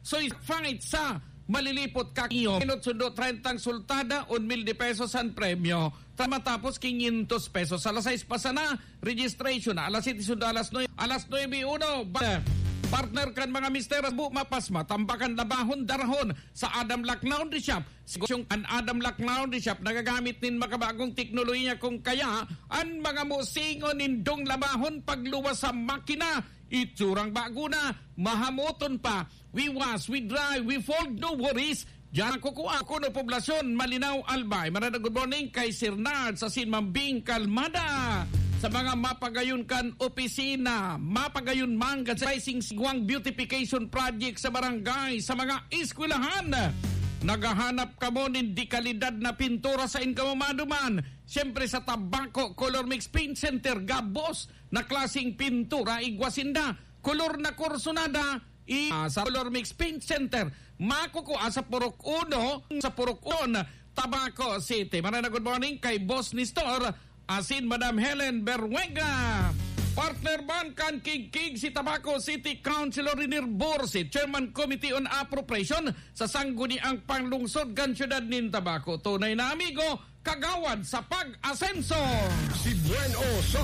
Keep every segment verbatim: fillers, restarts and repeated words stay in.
So, fight sa Malilipot, Kakiyom. Minot sundo, trentang sultada, un mil de pesos an premyo. Matapos, quinientos pesos. Alas sais pa sana, registration na. Alas siyete sundo, alas nuebe. Alas nuebe uno, ba-, partner kan mga mister, bu, mapas, matambakan, labahon, darahon sa Adam Lac Laundry Shop. Negosyong an Adam Lac Laundry Shop nagagamit nin makabagong teknolohiya, kung kaya an mga musingon nindong labahon pagluwas sa makina, itsurang bago na, mahamoton pa. We wash, we dry, we fold, no worries. Diyan ang kukuha ko ng poblasyon, Malinaw, Albay. Magandang good morning kay Sir Nard sa Sinmambing Kalmada. Sa mga mapagayon kan opisina, mapagayon man kan Rising Siguang Beautification Project sa barangay, sa mga eskwelahan. Naghahanap kamo nin dekalidad na pintura sa inyo maduman. Siyempre sa Tabaco Color Mix Paint Center, gabos na klaseng pintura, igwa sinda. Kolor na kursunada, i-, ah, sa Color Mix Paint Center. Makukuha sa Purok Uno, sa Purok Uno, Tabaco City. Magandang good morning kay Boss Nestor asin Madam Helen Berwega. Partner man kan Kigkig si Tabaco City Councilor Renier Borsi, Chairman Committee on Appropriation sa Sangguniang Panlungsod kan Siyudad nin Tabaco. Tunay na amigo, kagawad sa pag-asenso. Si Buen O sa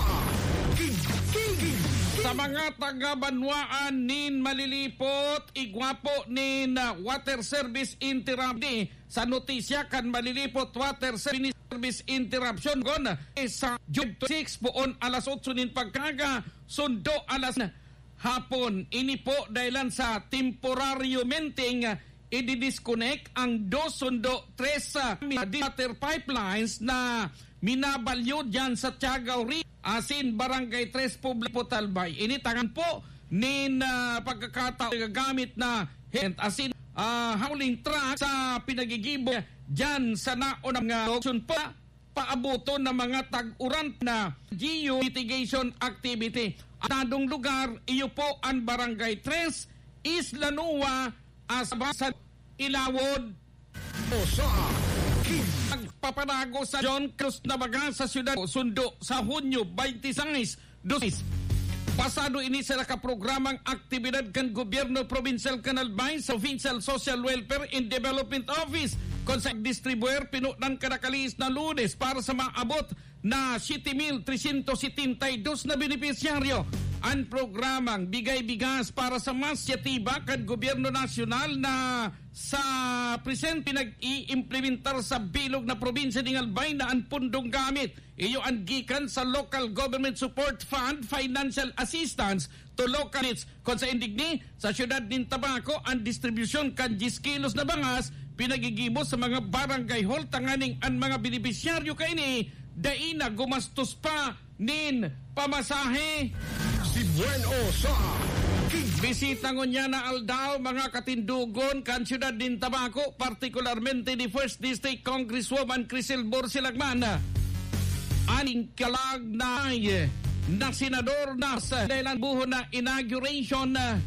Kigkig. Sa mga taga-banwaan nin Malilipot, igwa po nin, ah, water service interruption. Sa notisya kan Malilipot Water Service Interruption, gon, eh, sa June six, poon alas otso nin pagkaga, sundo alas hapon. Ini po dahilan sa temporaryo menting, ah, i-disconnect ang dos sundo tres, ah, water pipelines na minabalyo diyan sa Tiagaw Ri-, asin Barangay Tres, Public Potalbay. Ini tangan po nin, ah, pagkakataon gagamit na hent asin, ah, hauling truck sa pinagigibo diyan sa naunang, ah, auction pa paaboton ng mga tag-uran na geomitigation activity. Ang nadong lugar, iyo po ang Barangay Tres, Isla Nua, Asaba sa Ilawod. O sa King. Nagpapanago sa John Cruz na baga sa siyudad, sundo sa Hunyo twenty-six, dos. Pasado ini sa nakaprogramang aktibidad kan gobyerno probinsyal kan Albay sa Provincial Social Welfare and Development Office, kung sa distribuer pinunan kanakalihis na Lunes para sa maabot na siyete mil tresyentos setenta y dos na benepisyaryo. Ang programang Bigay Bigas para sa Mas Yatiba kan Gobyerno Nasyonal na sa presente nag-iimplementar sa bilog na probinsya ning Albay na ang pundong gamit iyo an gikan sa Local Government Support Fund Financial Assistance to Local Units. Kung sa indigni, sa siyudad nin Tabaco, ang distribusyon kan diyes kilos na bangas pinagigibo sa mga barangay hall tanganing an mga benepisyaryo kaini dai na gumastos pa nin pamasahe. Si Buen O sa King. Bisita ngunyan na aldaw, mga katindogon, kan siyudad nin Tabaco, partikularmente ni First District Congresswoman Crisel Borsilagman. Aning kalag na, na senador na sa dahilan buhon na inauguration, ah,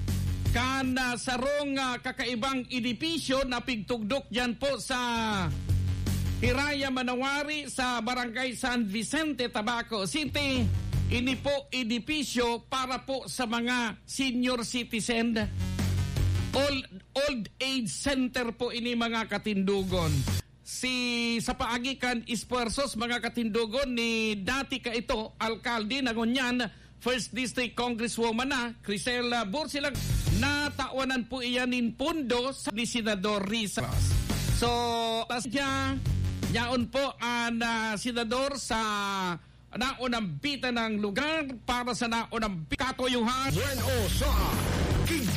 kan, ah, sarong, ah, kakaibang edipisyo na pigtugdok diyan po sa Hiraya Manawari sa Barangay San Vicente, Tabaco City. Ini po edipisyo para po sa mga senior citizen. Old, old age center po ini, mga katindogon. Si, sa paagi kan esfuerzos, mga katindogon, ni dati kaito, alkalde na ngunyan, First District Congresswoman na, Crisela Bursilag, natawanan po iyan nin pondo sa ni Senador Risa. So, tas siya, yaon po ang, ah, senador sa naunambitan ng lugar para sa naunambi-, katuyuhan. Buen O sa King.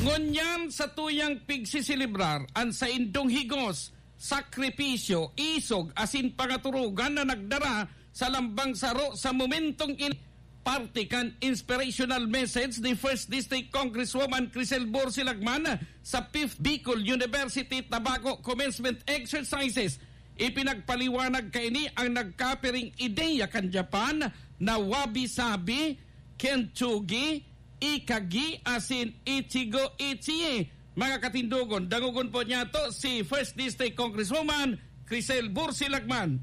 Ngunyan sa tuyang pigsiselebrar an saindong higos, sakripisyo, isog, asin pangaturugan na nagdara sa lambang saro sa momentong in-, parte kan inspirational message ni First District Congresswoman Crisel Borsilagman sa Fifth Bicol University Tabaco Commencement Exercises. Ipinagpaliwanag kaini ang nagkapiring ideya kan Japan na wabi-sabi, kintsugi, ikagi, asin ichigo ichi. Mga katindogon, dangogon po niyato si First District Congresswoman Crisel Bursilagman.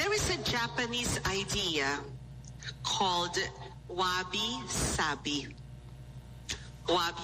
There is a Japanese idea called wabi-sabi. Wabi